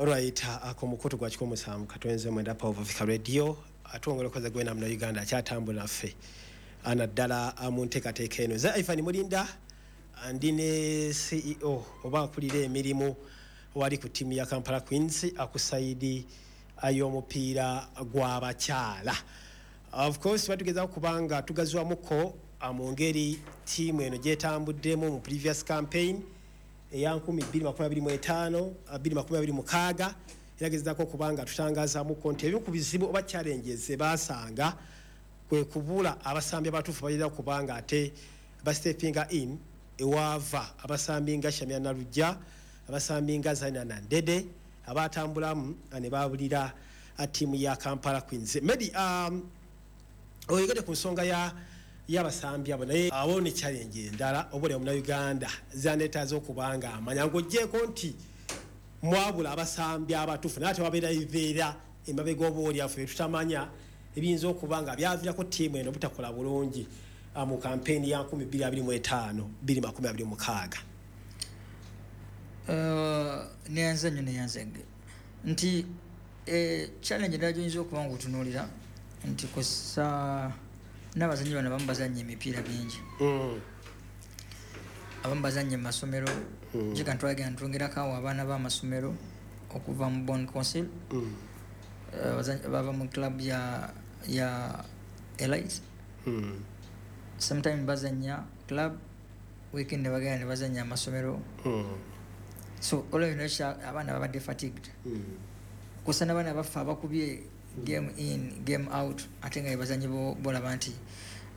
Alright, ako mukutu gwa 107.9 Power of Africa Radio, atwongera okoze gwena muna Uganda akyatambula naffe naddala mu nteekateeka eno. Nze Ivan Mulinda, ndi ne CEO oba akulira emirimu wali ku ttiimu ya Kampala Queens ku side y'omupiira gw'abakyala. Of course batugezaako kubanga tugazwamuko mu ngeri ttiimu eno gyetambuddemu mu previous campaign eya 2025 2026, era gezaako okubanga tutangazaamuko nti ebimu ku bizibu oba challenges ze baasanga kwe kubula abasambi abatuufu balina kubanga ate bastepinga in ewaava abasambi nga Shamia Nalujja, abasambi nga Zaina Nandede abatambulamu ne babulira ttiimu ya Kampala Queens. Medi, oyogedde ku nsonga y'abasambi abo, naye awo ne challenge endala oba oli Munnayuganda zandeetaaza okubanga amanya ng'oggyeeko nti mwabula abasambi abatuufu, naye ate wabeera bibeera emabega oba oli affe tutamanya ebiyinza okuba nga byaviirako ttiimu eno butakola bulungi mu kampeyini ya 2025 2026. Neyanza nnyo, neyanzege nti challenge endala gyoyinza okuba nga otunuulira nti kusa n'abazannyi bano abamu bazannya emipiira bingi, abamu bazannya mu masomero. Jika ntwagenda ntwongerako awo abaana b'amasomero okuva mu Bon Council, bava mu club ya Elite. Sometime bazannya club, weekend ne bagenda ne bazannya amasomero. So olwo abaana babadde fatigued, kusa n'abaana baffe abakubye game in, game out, ate nga bebazanyi bolaba nti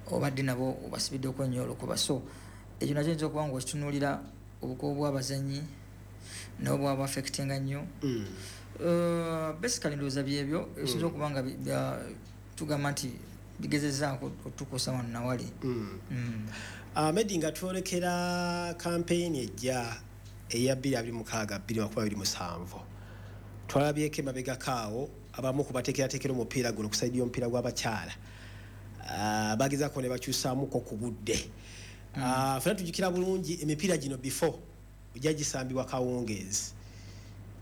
obadde nabo obasibiddeko nnyo olukuba. So ekyo nakyo oyinza okuba nga okitunuulira, obukubu bw'abazanyi nabo bwaba affectinga nnyo. Basically ndowooza byebyo ebisinza okuba nga tugamba nti bigezezaako otukuusa wano nawali. Medi, nga twolekera kampeyini ejja eya 2026 2027, twalabyeko emabegako awo abamu ku bateekerateekera omupiira guno ku side y'omupiira gw'abakyala bagezaako ne bakyusaamuko ku budde. Ffenna tujjukira bulungi emipiira gino before ojja gisambibwa kawungeezi,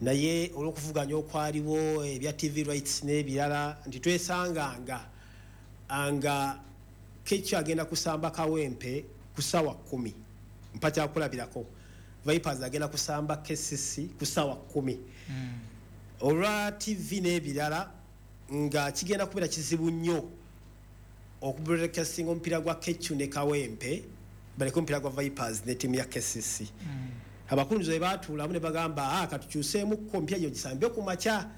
naye olw'okuvuganya okwaliwo ebya TV rights n'ebirala nti twesanganga nga Kekyo agenda kusamba Kawempe ku ssaawa 10. Mpa kyakulabirako, Vipers agenda kusamba KCC ku ssaawa 10. Olwa TV n'ebirala nga kigenda kubeera kizibu nnyo okubroadcastinga omupiira gwa Kecu ne Kawempe, baleke omupiira gwa Vipers ne ttiimu ya KCC. Abakunzi bwe baatuulamu ne bagamba, "Ah, katukyuseemukko emipiira gino gisambe ku makya."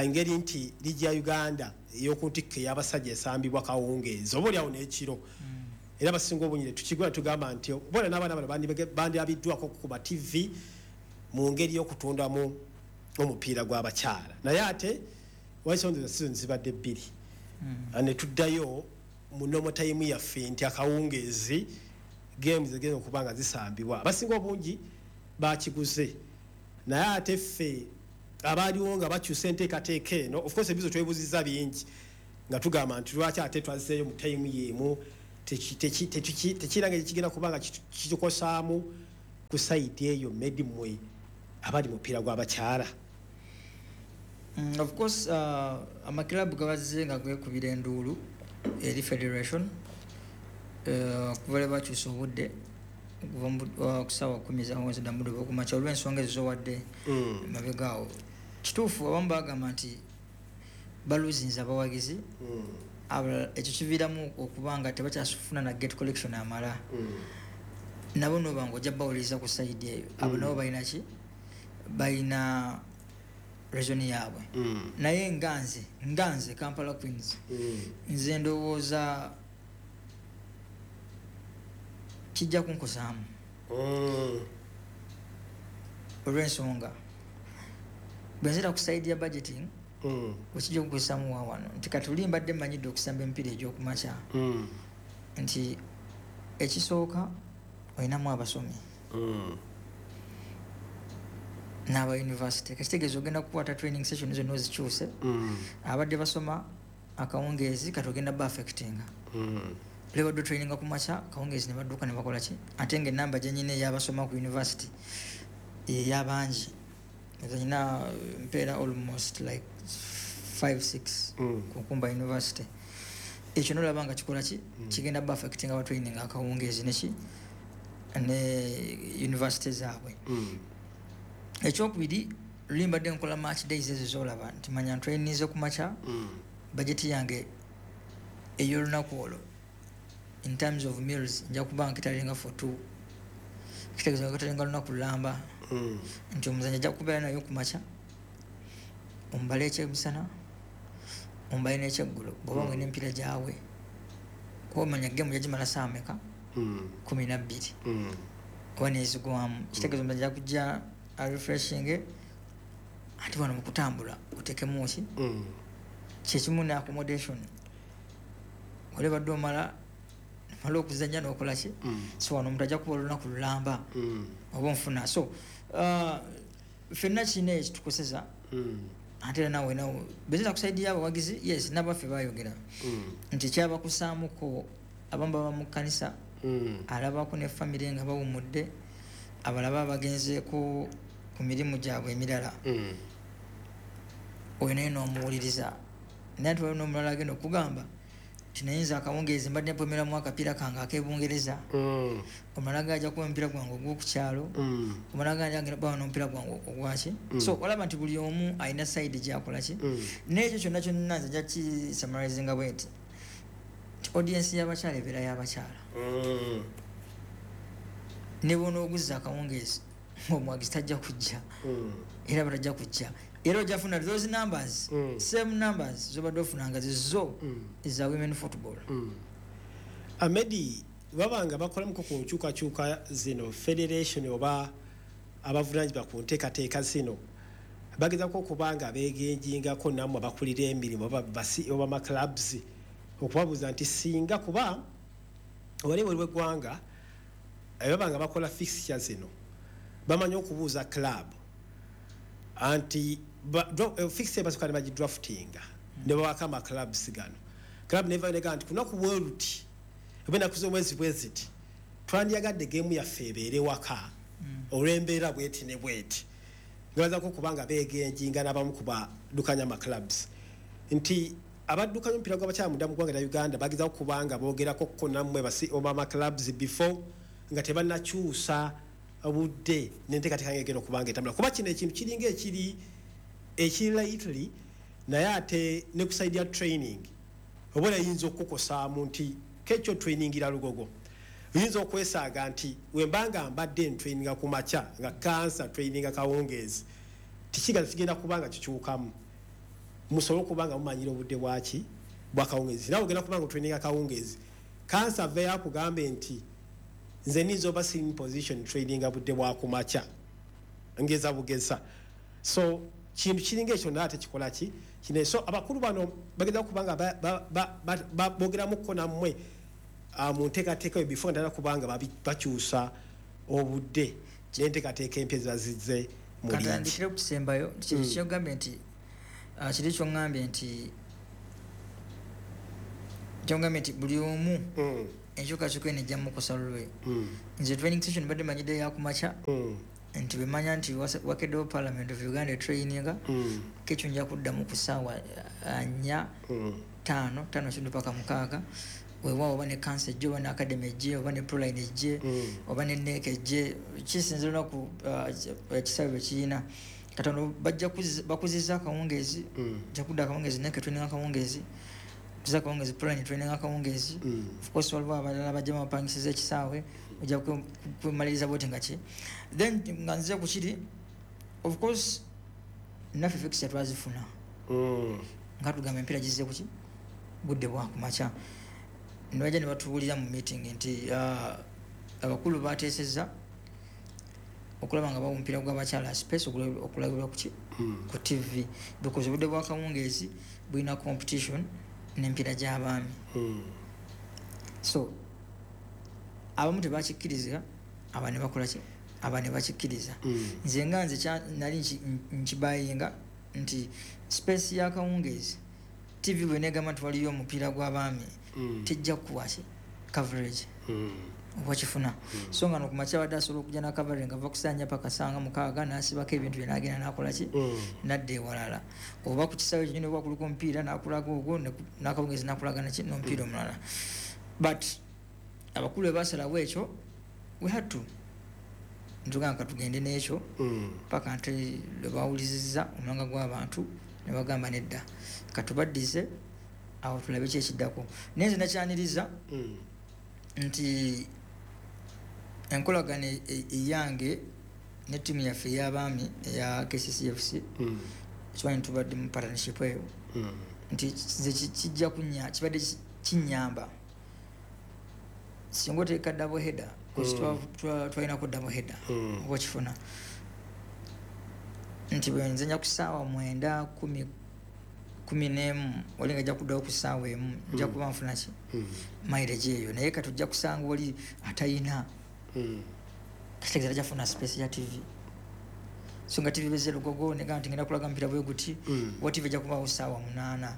Engeri nti liigi ya Uganda ey'oku ntikko ey'abasajja esambibwa kawungeezi oba oliawo n'ekiro, era abasinga obungi ne tukigula tugamba nti bona n'abaana bano bandirabiddwako kuba TV mu ngeri y'okutundamu omupiira gw'abakyala. Naye ate waisonza season zibadde bbiri, ne tuddayo mu normal time yaffe nti akawungeezi games zigenda okuba nga zisambibwa. Abasinga obungi bakiguze, naye ate ffe abaaliwo nga bakyusa enteekateeka eno, of course ebizo twebuziza bingi nga tugamba nti lwaki ate twazzeeyo mu time y'emu, tekiranga ekigenda kuba nga kitukosaamu ku side eyo. Medi, mmwe abali mupiira gw'abakyala. Of course, amakilabu gabazze nga gwekubira enduulu eri federation okuva lwe bakyusa obudde okuva ku ssaawa 10 zawonzi dda mudde okumakya olw'ensonga ezo zowadde mabega awo. Kituufu, abamu bagamba nti baluzinza abawagizi, abalala ekyo kiviiramu okuba nga tebakyasufuna na gate collection amala. Nabo noba nga ojja bawuliriza ku side eyo, abo nabo balina ki, balina reason yaabwe. Naye nga nze Kampala Queens, nze ndowooza kijja kunkosaamu olw'ensonga bwe nzira ku side ya budgeting, wekijja okukozesaamu wa wano nti kati oli mbadde mmanyidde okusamba emipiira egy'okumakya nti ekisooka olinamu abasomi n'aba university, kakitegeeza ogenda kukwata training session zonna ozikyuse. Abadde basoma akawungeezi kati ogenda ba affectinga. Lebadde traininga ku makya, kawungeezi ne badduka ne bakola ki, ate nga enamba gyenyina ey'abasoma ku university eyabangi. Nze nina mpeera almost like 5 6 ku Nkumba University. Ekyo nolaba nga kikola ki, kigenda ba affecting aba training akawungeezi neki ne university zaabwe. Ekyokubiri, luli mbadde nkola match days ezo zolaba nti manya ntraininze ku makya, budget yange ey'olunaku olwo in terms of meals nja kuba nkitalinga for two, kitegeeza nkitalinga lunaku lulamba, nti omuzanyi ajja kubeera nayo ku makya, omubale ekyemisana, omubale n'ekyeggulo, bw'oba ng'olina emipiira gyawe, kuba omanya game yagimala saa meka? 12 oba nezigwamu. Kitegeeza omuzanyi ajja kujja arefreshinge, ate wano mu kutambula oteekemu ki, kyekimu ne accommodation, oli badde omala mala okuzanya n'okola ki. So wano omuntu ajja kuba olunaku lulamba, oba onfuna. So ffenna kirina ekitukoseza, ate era nawe nawe bezira ku side y'abawagizi, yes, nabaffe bayogera nti kyabakusaamuko, abamu baba mu kkanisa, alabako ne famire nga bawumudde, abalaba bagenzeeko ku mirimu gyabwe emirala, oyo naye n'omuwuliriza. Naye ate waliwo n'omulala agenda okugamba nti naye nze akawungeezi mbadde mpomeramu akapiira kange ak'ebungereza, omulala gajja kuba omupiira gwange ogw'okukyalo, omulala gajja agenda kuba n'omupiira gwange ogwaki. So olaba nti buli omu alina side gyakola ki. N'ekyo kyonna kyonna nze nja kisummarizinga bwe nti nti audience y'abakyala ebeera y'abakyala. Ne bw'onooguzza akawungeezi, omuwagizi tajja kujja, era batajja kujja, era ojja funa those numbers, same numbers zobadde ofunanga zizo eza women football. Amedi, babanga bakolamuko ku nkyukakyuka zino, federation oba abavunanyizibwa ku nteekateeka zino bagezako okuba nga begenjingako nammwe abakulira emirimu oba basi oba ma clubs, okubabuuza nti singa kuba wali waliwo eggwanga baba nga bakola fixture zino, bamanyi okubuuza club anti fixture basooka ne bagidraftinga ne bawako ama clubs gano. Club neva nega nti kunaku bwe luti oba ennaku z'omwezi bwe ziti twandyagadde geemu yaffe ebeere waka olw'embeera bweti ne bweti, nga bazako kubanga begenjinga n'abamu ku baddukanya ama clubs nti abaddukanya omupiira gw'abakyala munda mu ggwanga lya Uganda bagezaako kubanga boogerako ko nammwe basi oba ama clubs before nga tebannakyusa budde n'enteekateeka ng'egenda okubanga etambula, kuba kino ekintu kiringa ekiri lightly, naye ate ne ku side ya training oba oyinza okukukosaamu nti kekyo trainingira Lugogo, oyinza okwesaaga nti wembanga mbadde ntraininga ku makya nga kansa traininga kawungeezi, tikigaza kigenda kuba nga kikyukamu, musobole okuba nga mumanyira obudde bwaki bwakawungeezi. Nawe ogenda kuba nga otraininga kawungeezi, kansa aveeyo akugambe nti nze ninza oba sitting position traininga budde bwakumakya, ngeza bugeza. So kintu kiringa ekyo, naye ate kikola ki kine. So abakulu bano bageza kubanga boogeramuko nammwe mu nteekateeka eyo before ddala kubanga bakyusa obudde n'enteekateeka empya ziba zizze mu liigi. Katandikire kukisembayo kyogambye nti kiri kyoŋŋambye nti buli omu enkyukakyuka eno ejja mukosa lulwe. Nze training session badde manyidde yakumakya, nti bwemanya nti wakeddewo Parliament of Uganda traininga, kekyo nja kuddamu ku ssaawa 4, 5, 5:30 paka 6. Weewaawo oba ne kansa ejje, oba ne academy ejje, oba ne Proline ejje, oba ne NEC ejje, kisinza olunaku ekisaawe bwe kirina katono bajja bakuzizza akawungeezi, nja kudda akawungeezi, NEC training akawungeezi, kuza akawungeezi, Proline training akawungeezi. Of course waliwo abalala bajja bapangisiza ekisaawe, ojja kwemaliriza bwoti nga ki. Then nga nzize ku kiri, of course naffe fixture twazifuna nga tugamba empiira gizze kuki budde bwakumakya, ne bajja ne batubuulira mu meeting nti abakulu bateesezza okulaba nga bawa omupiira gw'abakyala space okulabirwa kuki ku TV, because obudde bwakawungeezi bulina competition n'empiira gy'abaami. So abamu tebakikkiriza, aba ne bakola ki, aba ne bakikkiriza. Nze nga nze nali nkibayinga nti space y'akawungeezi TV bwe negamba nti waliyo omupiira gw'abaami, tejja kuwa ki coverage. Oba kifuna. So nga nokumakya abadde asobola okujja nakavale nga ava kusanya paka sanga 6 n'asibako ebintu bye n'agenda n'akola ki, nadda ewalala, oba ku kisaawe kyenyini oba kuliko omupiira n'akulaga ogwo n'akawungezi n'akulaga naki n'omupiira omulala. But abakulu bwe basalawo ekyo, we had to ntugamba katugende n'ekyo paka nti lwe bawulizizza omulanga gw'abantu ne bagamba nedda, katubaddize awo tulabe ki ekiddako. Naye nze nakyaniriza nti enkolagano eyange ne ttiimu yaffe ey'abaami eya KCCFC, kimanyi tubadde mu partnership eyo, nti nze kijja kunya kibadde kinyamba singa oteeka double header, twalinako double header, oba okifuna nti bwe nzanya ku ssaawa 9 10 11, oli nga ajja kuddawo ku ssaawa 1, nja kuba nfuna ki mileage eyo. Naye kati ojja kusanga oli atayina, kitegeeza tajja kufuna space ya TV. So nga TV bezze Lugogo negamba nti ngenda kulaga mpira bwe guti, wa TV ejja kubaawo ssaawa 8,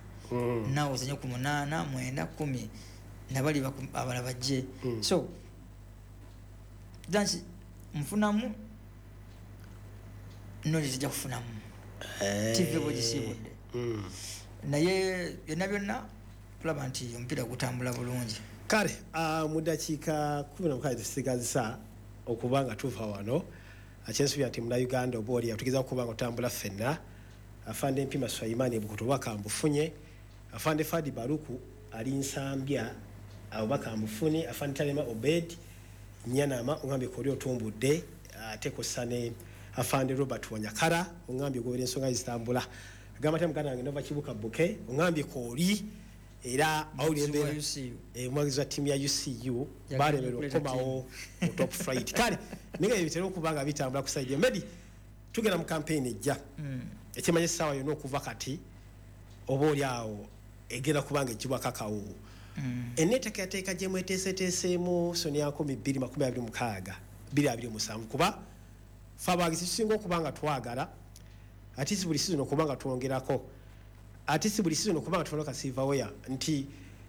naawe ozanye ku 8 9 10 nabali abalala bajje. So dansi nfunamu knowledge ejja kufunamu TV bwegisiibudde. Naye byonna byonna tulaba nti omupiira gutambula bulungi. Kale mu ddakiika 16 tusigazza okuba nga tuva wano, akyensuubira nti munnayuganda oba oli tugezaako okuba nga otambula ffenna. Afande Mpima Swayimani Ebukutu obubaka mbufunye, Afande Fadi Baruku ali Nsambya obubaka mbufunye, Afande Talema Obed Nyanama ongambye koli otumbudde, ate kossa ne Afande Robert Wanyakara ongambye ogobera ensonga zitambula. Agamba ate muganda wange Nova Kibuka Buke ongambye koli era awulira embeera omuwagizi wa ttiimu ya UCU balemererwa okukomawo mu top flight. Kale naye nga bitera okuba nga bitambula ku side. Medi, tugenda mu campaign ejja, ekimanyi essaawa yonna okuva kati oba oli awo egenda kuba nga ejjibwako akawuwo. Enneeteekateeka gye mweteeseteeseemu Sonia 2026 2027, kuba ffe abawagizi tusinga okuba nga twagala ate si buli season okuba nga twongerako, ate si buli season okuba nga tufuna ka silverware nti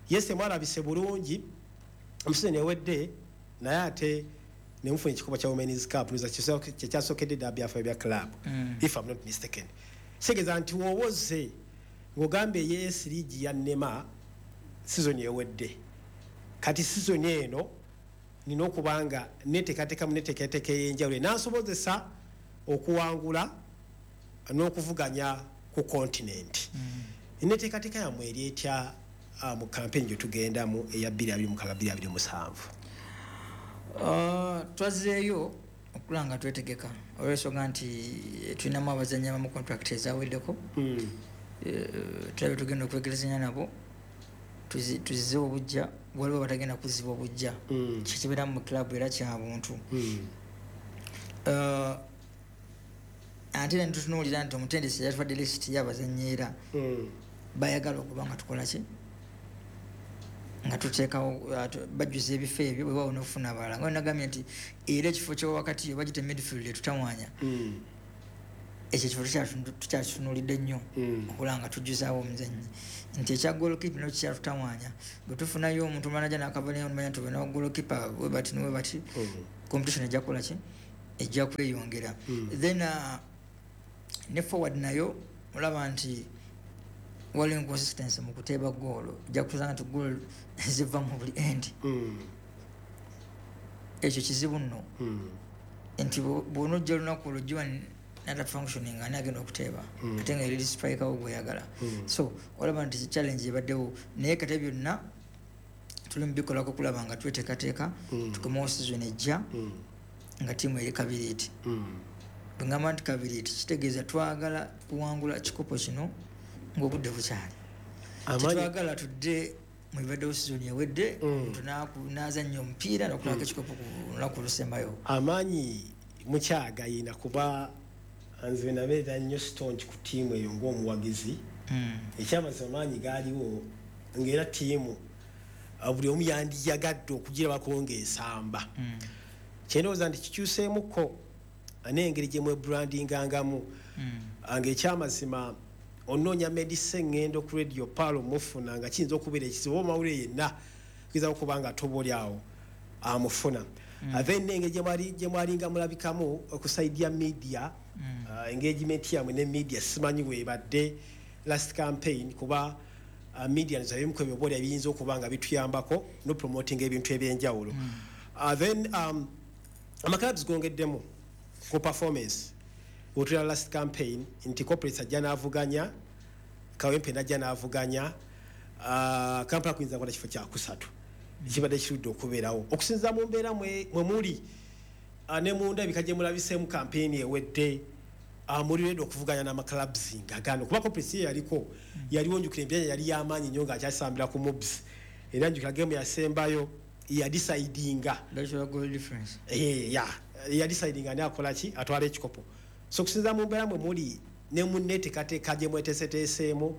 yes mwalabise bulungi mu season ewedde, naye ate ne mufuna ekikopo kya Women's Cup kyekyasookedde dda byaffe bya club, if I'm not mistaken. Kitegeeza nti w'owoze ng'ogambye yes league ya nnema season ewedde, kati season eno nina okuba nga neteekateekamu neteekateeka ey'enjawulo enansobozesa okuwangula n'okuvuganya ku continent. Enneteekateeka yammwe eri etya mu campaign gye tugendamu eya 2026 2027? Twazzeeyo okulaba nga twetegeka olw'ensonga nti tulinamu abazannyi abamu contract ezaweddeko. Tulabe tugenda okwegerezanya nabo tuzze obujja, waliwo abatagenda kuzzibwa obujja, kikibeera mu club era kya buntu. Ate era netutunuulira nti omutendesi yatuwadde list y'abazannyi era bayagala okuba nga tukola ki nga tuteekawo bajjuza ebifo ebyo bwe bawo n'okufuna abalala. Nga nagambye nti era ekifo ky'owakati oba gite midfield etutawaanya, ekyo ekifo tukyakitunuulidde nnyo okulaba nga tujjuzaawo omuzannyi. Nti ekya goalkeeper nakyo kikyatutawaanya, bwe tufunayo omuntu omulala ajja n'akavanayo nomanya nti olina goalkeeper bwe bati ne bwe bati, competition ejja kukola ki, ejja kweyongera. Then ne forward nayo olaba nti waliwo inconsistency mu kuteeba goolo, ojja kusanga nti goolo ziva mu buli end. Ekyo kizibu nno nti bw'onojja olunaku olwo giwa nata functioning ani agenda okuteeba, ate nga eri striker wo gweyagala. So olaba nti challenge ebaddewo, naye kate byonna tuli mu bikolako okulaba nga tweteekateeka tukomewo season ejja nga ttiimu eri kabiriiti. Bwe ngamba nti kabiriiti kitegeeza twagala kuwangula kikopo kino ng'obudde bukyali. Tetwagala tudde mu bibaddewo season ewedde, omuntu n'azannya omupiira n'okulako ekikopo ku lunaku olusembayo. Amaanyi mukyagayina kuba nze nabeera nnyo staunch ku ttiimu eyo ng'omuwagizi. Ekyamazima amaanyi gaaliwo ng'era ttiimu buli omu yandiyagadde okugirabako ng'esamba. Kyendowooza nti kikyuseemukko n'engeri gye mwebrandingangamu, ng'ekyamazima onoonya Medise ngendo ku Radio Palo mufuna nga kiyinza okubeera ekizibu oba mawulire yenna gezaako okuba nga toba oli awo Amufuna. Then engeri gye mwalinga mulabikamu oku side ya media, engagement yammwe ne media, simanyi weebadde last campaign, kuba media nzabimu ku ebyo ebiyinza okuba nga bituyambako no promoting ebintu ebyenjawulo. Then amaclubs gongeddemu ku performance. Wotulala last campaign nti Corporates ajja n'avuganya, Kawempe najja n'avuganya, Kampala Queens akola kifo kyakusatu ekibadde kirudde okubeerawo okusinziira mu mbeera mwe muli ne munda ebika gye mulabiseemu campaign ewedde. Muli ready okuvuganya n'amaclubs nga gano? Kuba Corporates ye yaliko, yaliwo, njukira embyanya yali y'amaanyi nnyo ng'akyasambira ku MUBS, era njukira game yasembayo yadecidinga That's goal difference. Ya yadecidinga ani akola ki, atwala ekikopo. So okusinziira mu mbeera mwe muli ne munneteekateeka gye mweteeseteeseemu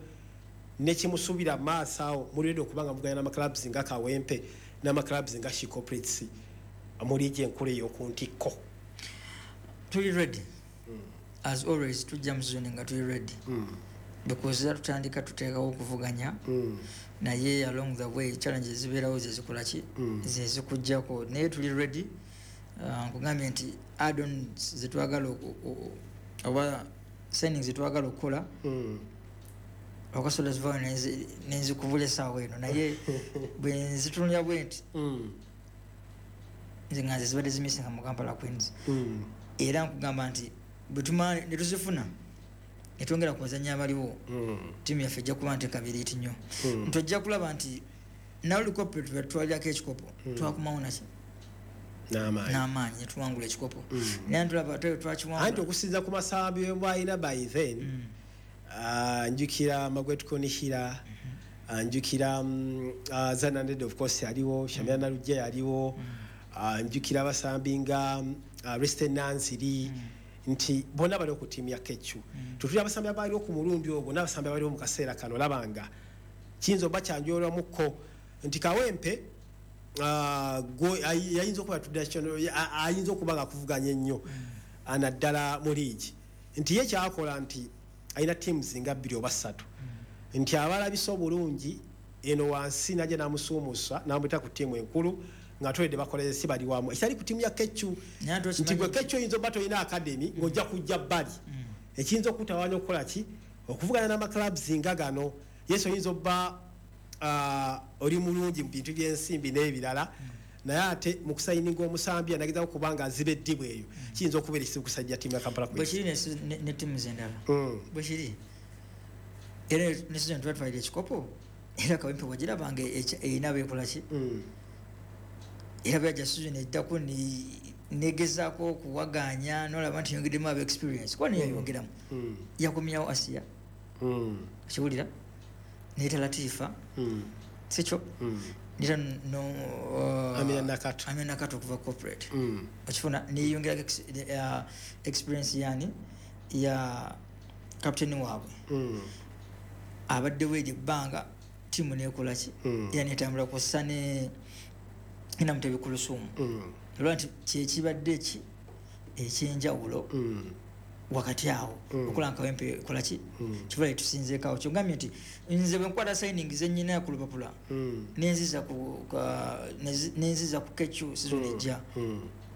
nekimusuubira maaso awo, muli ready okuba nga muvuganya n'amaclubs nga Kawempe n'amaclubs nga She Corporates muli gye enkulu ey'oku ntikko? Tuli ready as always. Tujja mu season nga tuli ready because era tutandika tuteekawo okuvuganya, naye along the way challenges zibeerawo, zezikola ki, zezikujjako, naye tuli ready. Nkugambye nti add-ons zetwagala oba signings zetwagala okukola, okasobola zivaayo nenzikubula essaawa eno, naye bwe nzitunulira bwe nti, nze nga nze zibadde zimissinga mu Kampala Queens, era nkugamba nti bwetumala netuzifuna netwongera ku bazanyi abaliwo, ttiimu yaffe ejja kuba nti kabiriiti nnyo, nti ojja kulaba nti naluli Corporate bwetutwalirako ekikopo, twakomawo naki? N'amaanyi. N'amaanyi netuwangula ekikopo, naye ntulaba ate Anti twakiwangula. Okusinziira ku masambi bwalina by then, njukira Magwet Konihira, njukira Zananded, of course yaliwo, Shamira Nalujja yaliwo, njukira abasambi nga Resten Nanziri, nti bonna baliwo ku ttiimu ya Kechu. Tutuli abasambi abaliwo ku mulundi ogwo n'abasambi abaliwo mu kaseera kano, olabanga kiyinza oba kyanjolwamukko nti Kawempe yayinza okuba ayinza okuba nga akuvuganya ennyo, naddala mu liigi, nti ye kyakola nti alina teams nga bbiri oba ssatu, nti abalabisa obulungi eno wansi najja namusuumusa namwita ku ttiimu enkulu nga toledde bakoleze si bali wamu, ekitali ku ttiimu ya Kecu, Naye ate nti gwe okimanyi Kecu oyinza oba tolina academy ng'ojja kujja bbali, ekiyinza okutawaanya okukola ki, okuvuganya n'amaclubs nga gano. Yes, oyinza obba oli mulungi mu bintu by'ensimbi n'ebirala, naye ate mu kusayininga omusambi anagezako kuba nga aziba eddibu eyo, kiyinza okubeera ekizibu kusajja ttiimu ya Kampala bwe Queens. Kiri ne ttiimu zendala bwe kiri, era ne season twatwalira ekikopo, era Kawempe wagirabanga erina beekola ki, era bwajja season eddako negezaako okuwaganya nolaba nti yongeddemu aba experience, kuba neyayongeramu, yakomyawo Asiya, okiwulira, neyita Latifa, sikyo? Nita no Amina Nakato. Amina Nakato okuva Corporate, okifuna, neyongerako experience yani ya captain waabwe abaddewo eryo ebbanga, tiimu nekola ki, era netambula kwassa ne Namutebi Kulusumu, olwa nti kyekibadde eki ekyenjawulo wakati awo okola Nkawempe kolaki kiva tusinzeekawo. Kyogambye nti nze bwe nkwata signing zenyina ku lupapula nenziza ku Kecu season ejja,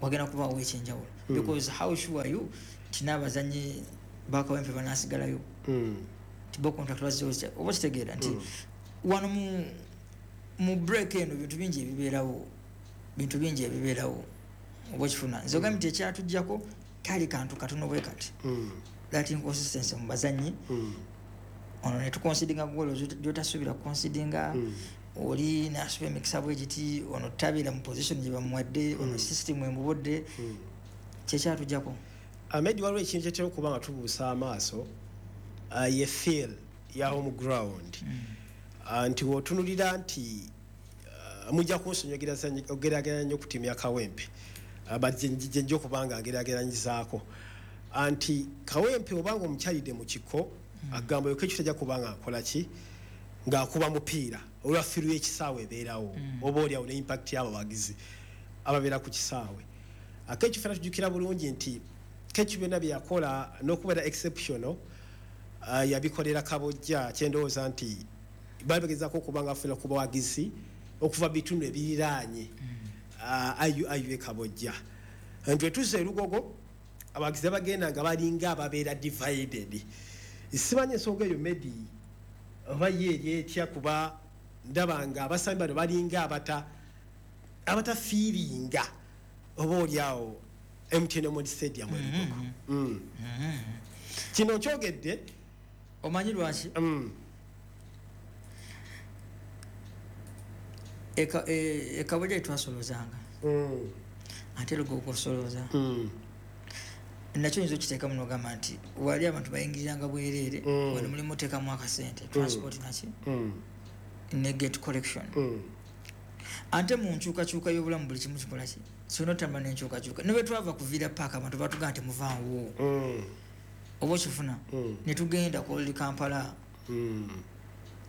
wagenda kubaawo ekyenjawulo, because how sure are you nti n'abazanyi bakawempe banasigalayo, nti bo contract bazzewo? Oba kitegeera nti wano mu break eno bintu bingi ebibeerawo, bintu bingi ebibeerawo, oba okifuna? Nze ogambye nti ekyatujjako kali kantu katono bwe kati, that inconsistency mu bazanyi, ono netuconsidinga golo gyotasuubira kuconsidinga, oli nasuba emikisa bwe giti, ono tabeera mu position gye bamuwadde, ono system emubodde, kyekyatujjako. Ahmed, waliwo ekintu kyetera okuba nga tubuusa amaaso, ye feel ya home ground, nti wotunulira nti mujja kunsonyiwa ogeraageranya nnyo ku ttiimu ya Kawempe, but gye nja okuba nga ngeraageranyizaako, nti Kawempe obanga omukyalidde mu kiko, agamba yoka ekyo tajja kuba nga akola ki, ng'akuba mupiira olwa feel y'ekisaawe ebeerawo, oba oliawo ne impact y'abawagizi ababeera ku kisaawe. Akeekyo fena tujjukira bulungi nti Kecu byonna bye yakola n'okubeera exceptional, yabikolera Kabojja, kyendowooza nti baali bagezaako okuba nga afuna ku bawagizi okuva bitundu ebiriraanye. IUIU Kabojja. Nti wetuze Lugogo abawagizi bagenda nga balinga ababeera divided. Simanyi ensonga eyo Medi oba ye eri etya, kuba ndaba nga abasambi bano balinga abatafiiringa oba oliawo MTN Omondi Stadium e Lugogo. Kino nkyogedde. Omanyi lwaki? Ekabojja twasolozanga, ate Lugogo osoloza. Nakyo oyinza okiteekamu nogamba nti wali abantu bayingiriranga bwereere, wano mulimu oteekamu akasente, transport naki ne gate collection. Ate mu nkyukakyuka y'obulamu buli kimu kikola ki, solina otambula n'enkyukakyuka. Ne bwe twava ku Villa Park abantu batugamba nti muvaawo, oba okifuna, ne tugenda ku Old Kampala.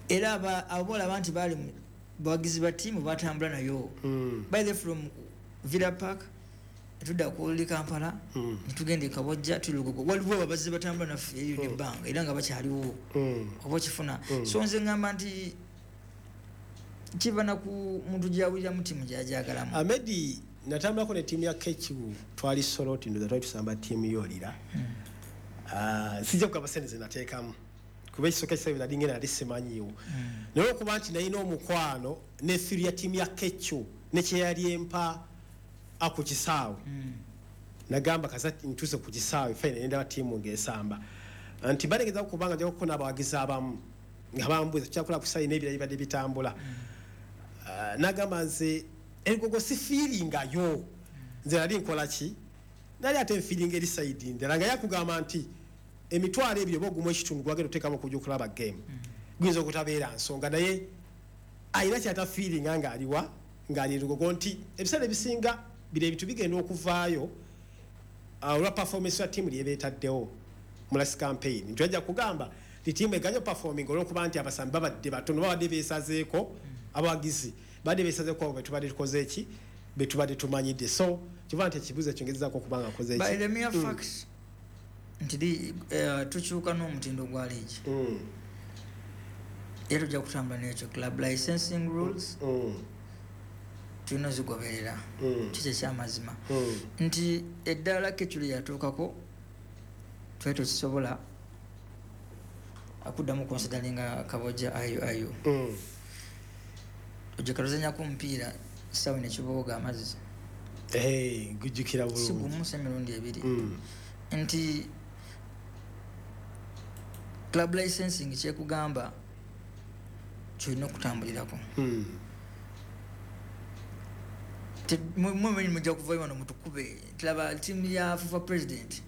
Era abo olaba nti baali bawagizi ba ttiimu batambula nayo. By the from Villa Park netudda ku Old Kampala, netugenda e Kabojja, tuli Lugogo, waliwo abazze batambula naffe eriyo nebbanga era nga bakyaliwo, oba okifuna. So nze ngamba nti kiva na ku muntu gyawuliramu ttiimu gyajagalamu. Amedi, natambulako ne ttiimu ya KQ, twali Soroti, ndoza twali tusamba ttiimu yolira. Sijja kugamba sente zenateekamu kuba ekisooka ekiseera nali ngenda nali simanyiiwo, naye okuba nti nalina omukwano ne theory ya ttiimu ya KQ ne kyeyali empa ku kisaawe, nagamba kaza ntuuse ku kisaawe fine nendaba ttiimu ng'esamba nti balegeza kubanga nja kukuna abawagizi abamu nga bambuuza kyakola ku sayi n'ebirala bibadde bitambula. Nagamba nze Elugogo si fiiringayo, nze nali nkola ki, nali ate nfiiringa eri side ndala nga yakugamba nti 20,000 oba 1.5 gwagenda oteekamu okujja okulaba game guyinza okutabeera nsonga, naye alina kyatafiiringa ng'aliwa ng'ali Lugogo nti ebiseera ebisinga bino ebintu bigenda okuvaayo olwa performance ya ttiimu lyebeetaddewo mu last campaign, nti ajja kugamba nti ttiimu eganye performing olw'okuba nti abasambi babadde batono, babadde beesazeeko, abawagizi badde beesazeeko abo betubadde tukoze eki betubadde tumanyidde. So kiva nti ekibuuzo ekyo ngezezaako okuba nga nkoze By eki. the mere fact nti tukyuka n'omutindo gwa liigi, era tujja kutambula n'ekyo. Club licensing rules tulina ozigoberera. Kiki ekyamazima nti eddaala keculi yatuukako twali tokisobola akuddamu consideringa Kabojja IUIU. Ojja tuzanyako omupiira kisaawe nekibooga amazzi. Gujjukira Si bulungi. gumu, si emirundi ebiri. Nti club licensing kyekugamba kyolina okutambulirako. Mwe mujja kuvayo wano mutukube. Tulaba ttiimu ya FUFA president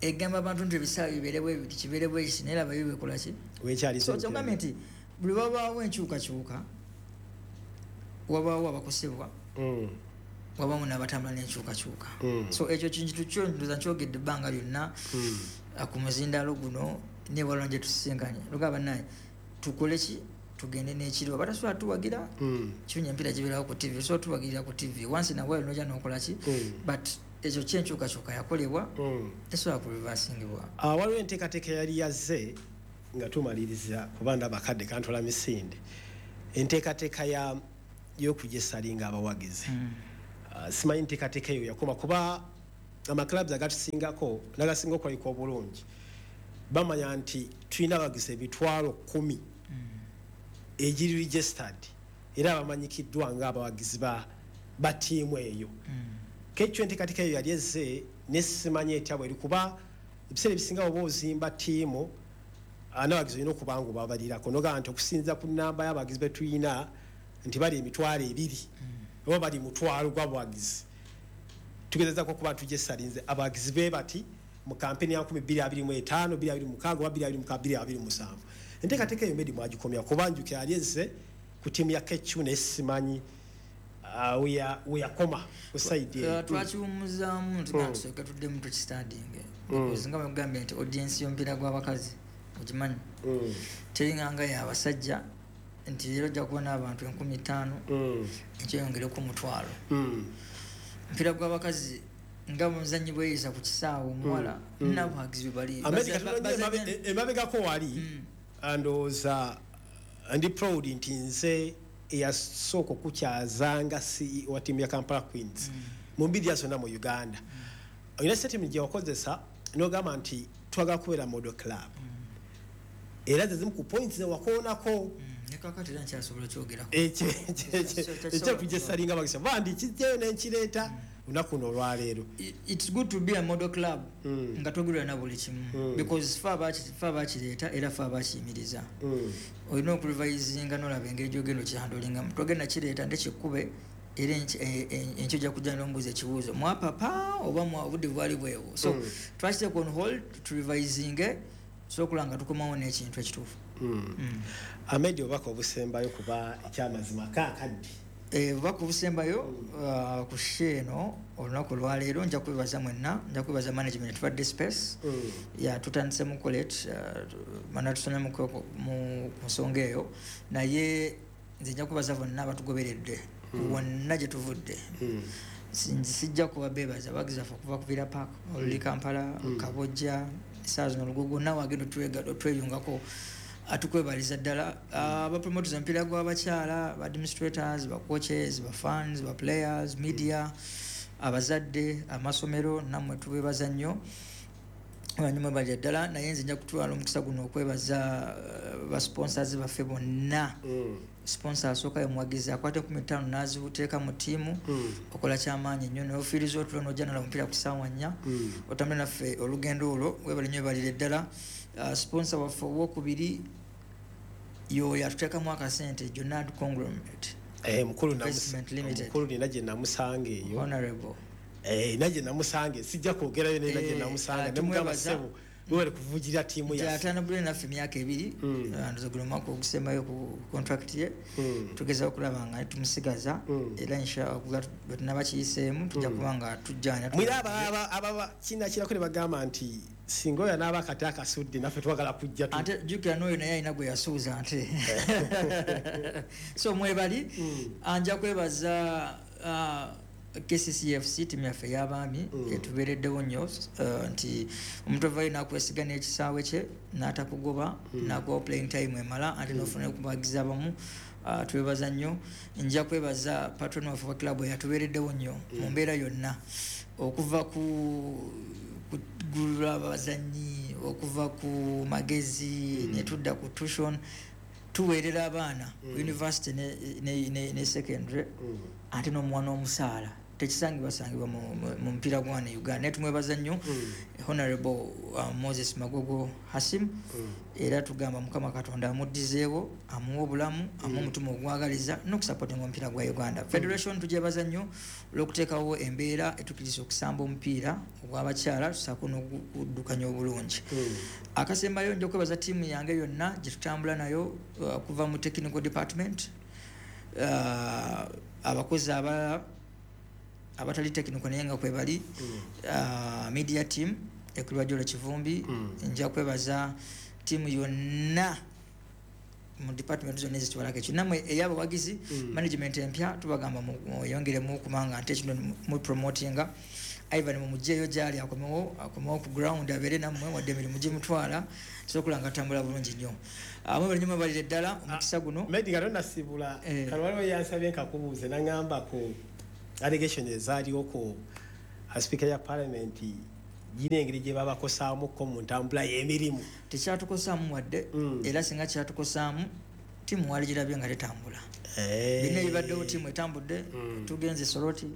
egamba abantu nti ebisaawe bibeere bwe biti, kibeere bwe kiti, naye laba yo bekola ki? Wekyali. So kyogambye nti buli wabaawo enkyukakyuka wabaawo abakosebwa, wabaawo n'abatambula n'enkyukakyuka. So ekyo kintu kyo ndoza nkyogedde ebbanga lyonna ku muzindaalo guno newalwa gye tusisinkanye, lugaba naye tukole ki, tugende n'ekiro abatasobola tuwagira. Kirunya empiira gibeerawo ku TV, osobola tuwagirira ku TV once in a while nojja n'okola ki, but ekyo kyenkyukakyuka yakolebwa tesobola kureversingibwa. Waliwo enteekateeka yali yazze nga tumaliriza, kuba ndaba akadde kantwala misinde, enteekateeka y'okujesalinga abawagizi. Simanyi nteekateeka eyo yakoma, kuba amaclubs agatusingako nagasinga okulabika obulungi bamanya nti tulina abawagizi 10,000 egiri registered era abamanyikiddwa ng'abawagizi ba ttiimu eyo. Kekyo enteekateeka eyo yali ezze nesimanyi etya bweri, kuba ebiseera ebisinga oba ozimba ttiimu n'abawagizi olina okuba nga obabalirako nogamba nti okusinziira ku nnamba y'abawagizi be tulina nti bali 20,000 oba bali 1,000 gw'abawagizi, tugezezaako okuba tujesalinze abawagizi be bati mu kampeni ya 2025, 2026 oba 2026, 2027. Enteekateeka eyo Medi mwagikomya, kuba njukira yali ezze ku ttiimu ya KQ naye simanyi weyakoma ku side eyo. Twakiwummuzaamu nti tusooke tuddemu tukistandinge, because nga bwegambye nti audience y'omupiira gw'abakazi ogimanyi teringanga y'abasajja, nti leero ojja kuba n'abantu 5,000 ekyeyongereko 100,000. Omupiira gw'abakazi nga muzannyi bweyisa ku kisaawe omuwala n'abawagizi bwe bali America emabegako wali, ndowooza ndi proud nti nze Eyasooka okukyazanga CEO wa ttiimu ya Kampala Queens mu mbiri zonna mu Uganda, olina statement gye wakozesa n'ogamba nti twagala kubeera model club, era ze zimu ku points zewakoonako. Nekakati era nkyasobola kyogerako. Ekyokujesalinga bagisa bandi kijjayo nenkireeta lunaku luno olwaleero. It's good to be a model club nga togulira na buli kimu, because fe abakireeta era fe abakiyimiriza. Olina okurevisinga nolaba engeri gyogenda okihandlingamu. Togenda kireeta nte kikube era enkyo ojja kujja nombuuza ekibuuzo, mwapapa oba obudde bwali bwewo? So twakiteeka on hold, turevisinge, sokola nga tukomawo n'ekintu ekituufu. Ahmed, obubaka obusembayo, kuba ekyamazima kaakaddi. Obubaka obusembayo ku show eno olunaku olwaleero, nja kwebaza mwenna, nja kwebaza management tubadde space ya tutandise mu college mana tusonye ku nsonga eyo, naye nze nja kwebaza bonna abatugoberedde wonna gye tuvudde. Sijja kuba bebaza abagizi baffe okuva ku Villa Park, oluli Kampala, Kabojja, saa zino Olugogo, nawe agenda otweyungako, atukwebaliza ddala. Abapromoters omupiira gw'abakyala, ba administrators, ba coaches, ba fans, ba players, media, abazadde, amasomero, nammwe tubebaza nnyo banyuma balya ddala. Naye nze nja kutwala omukisa guno okwebaza ba sponsors baffe bonna. Sponsor asooka ye muwagizi akwata 15 n'aziteeka mu ttiimu, okola kyamaanyi nnyo nofiiriza otulo nojja nolaba omupiira ku ssaawa 4, otambule naffe olugendo olwo, webale nnyo, webalire ddala. Sponsor waffe owokubiri yoyo atuteekamu akasente, Jonad Conglomerate Mukulu Investment Limited. Mukulu nina gye namusanga eyo. Honorable. Nina gye namusanga, sijja kwogerayo, nina gye namusanga nemugamba, tumwebaza. "Ssebo, webale kuvugira ttiimu Nti yaffe." atambule naffe emyaka 2. Ndoza guno omwaka ogusembayo ku contract ye. Tugezaho okulaba nga tumusigaza era inshallah bwe tunaba kiyiseemu tujja kuba nga tujjana. Mwira ababa kinakirako ne bagamba nti singa oyo anaaba akati akasudde, naffe twagala kujja Ate jjukira n'oyo naye alina gwe yasuuza nte, so mwebali. Nja kwebaza KCCFC, tiimu yaffe ey'abaami, etubeereddewo nnyo, nti omuntu avayo n'akwesiga n'ekisaawe kye n'atakugoba, n'akuwa playing time emala, ate n'ofuna okubagiza abamu. Twebaza nnyo. Nja kwebaza patron waffe wa club eyatubeereddewo nnyo mu mbeera yonna, okuva ku kugula abazannyi, okuva ku magezi, ne tudda ku tuition, tuweerera abaana ku university ne secondary, ate n'omuwa n'omusaala. Tekisangibwa sangibwa mu mupiira gwa wano e Uganda, naye tumwebaza nnyo Honorable Moses Magogo Hasim, era tugamba Mukama Katonda amuddizeewo, amuwe obulamu, amuwe omutima ogwagaliza n'okusupportinga omupiira gwa Uganda. Federation tugyebaza nnyo olw'okuteekawo embeera etukkiriza okusamba omupiira ogw'abakyala, tusaako n'okuddukanya obulungi. Akasembayo, nja okwebaza ttiimu yange yonna gye tutambula nayo, okuva mu technical department, abakozi abalala abatali technical naye nga kwebali, media team ekulwa Jolo Kivumbi. Nja kwebaza ttiimu yonna mu department zonna ezitwalako ekyo, nammwe ey'abawagizi, management empya, tubagamba mweyongeremu kubanga nte kino mu promotinga. Ivan mumugyeyo gyali, akomewo ku ground abeere nammwe, wadde emirimu gimutwala, sokola nga atambula bulungi nnyo. Mwebale nnyo, mwebalire ddala omukisa guno. Medi, nga tonasibula, kano waliwo yansabye nkakubuuze, naŋŋamba ku allegation ezaaliwo ku speaker ya parliament, gina engeri gye babakosaamuko mu ntambula y'emirimu. Tekyatukosaamu wadde, era singa kyatukosaamu, tiimu wali girabye nga tetambula. Bina ebibaddewo, tiimu etambudde. Tugenze Soroti,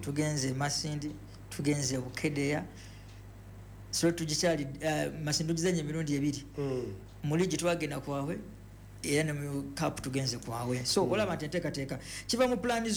tugenze Masindi, tugenze Bukedeya. So tugikyali Masindi tugizanye emirundi ebiri. Mu liigi twagenda kwabwe, era ne mu cup tugenze kwabwe, so olaba nti enteekateeka kiva mu pulaani.